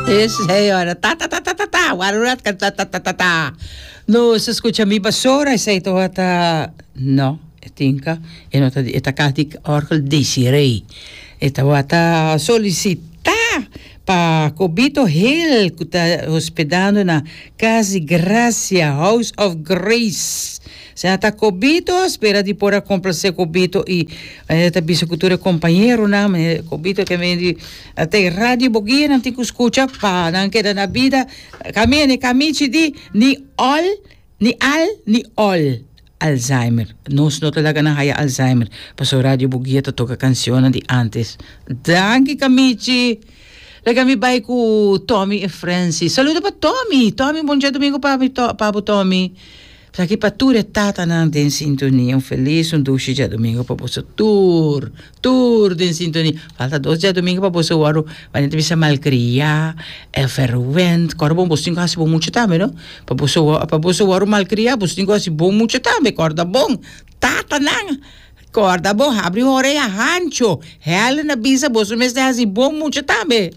Esei ora ta ta ta ta ta ta warura ta ta ta ta ta ta. Nos a scucha mi basora esei tabata no e tinka e no ta e ta kas di orgel Desiree e tabata solicita pa Cobito Hill cu ta hospedando na Cas di Gracia House of Grace Sena ta Cobito spera di por a complace Cobito y manera ta bisa cu tur e compañeronan manera Cobito ke men di te radio boguia nan tin cu scucha pa nan keda na bida Camia ni camichi di ni ol ni al ni ol Alzheimer nos no ta laga nan haya Alzheimer pasobra radio boguia ta toca cancionnan di antes danki camichi laga mi bay cu Tommy e Francis saludo pa Tommy Tommy bon djadomingo pa mi pa bo Tommy. Esaki pa tur e tatanan den sintonia. Un felis un dushi djadumingu pa boso tur, tur den sintonia. Falta dos djadumingu pa boso wòrdu, manera ta bisa malkriá, verwend. Kòrda bon, boso tin ku hasi bon mucha tambe, no? Pa boso pa boso wòrdu malkriá, boso tin ku hasi bon mucha tambe. Kòrda bon, tatanan, kòrda bon, habri un orea hancho. Helen a bisa boso mester hasi bon mucha tambe.